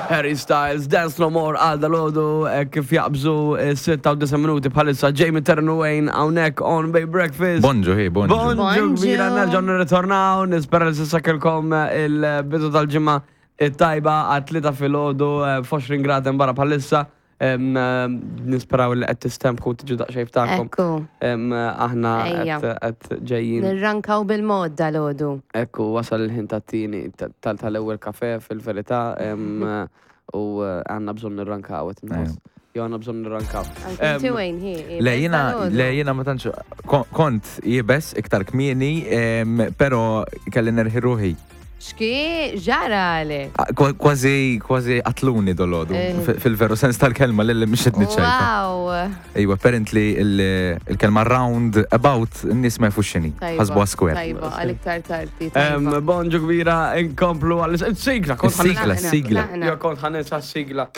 Harry Styles, Dance No More għal dalodu eh, kif jaqbżu 6 minuti bħalissa Jamie Ternu Wayne hawnhekk on Bay Breakfast. Bonġu, hi, bonġu. Bonġu Bonġu. kbira nerġgħu nirritornaw, nispera li s'issa kellkom eh, il-bidu tal-ġimgħa it-tajba għat-tlieta filgħodu eh, f'20 grad hemm barra bħalissa. Em, eh, Nisperaw li qed tistempħu tiġu daqsxejn ftakom. Ekku, Em, Aħna Ejja. qed qed ġejjin. nirrankaw bil-mod dal-ħodu. Ekku, wasal il-ħin tat-tieni tal-ewwel kafe fil-verità em, u eh, għandna bżonn nirrankaw qed inħoss. Jew għandna bżonn nirrankaw. Anki inti Wayne, hi. hi, Le bes jina, dal-għodu. le jina ma tantx kon- kont jibes iktar kmieni, em, pero kelli nerħi ruħi. Xki ġara għalek? Ah, kwa- Kważi, kważi qatluni dolodu. Eh. Fil-veru sens tal-kelma li mhix qed niċċajta. Wow. Iwa, apparently il- il-kelma round about n-nies ma jafux x'inhi. Tajba, Ħasbuha square. Tajba, għal iktar tardi. Em, tajba. Bonġu kbira, inkomplu għal sigla. kont ħan- Is-sigla, Tlaqna, sigla. tlaqna. Jo kont ħaninsa s-sigla.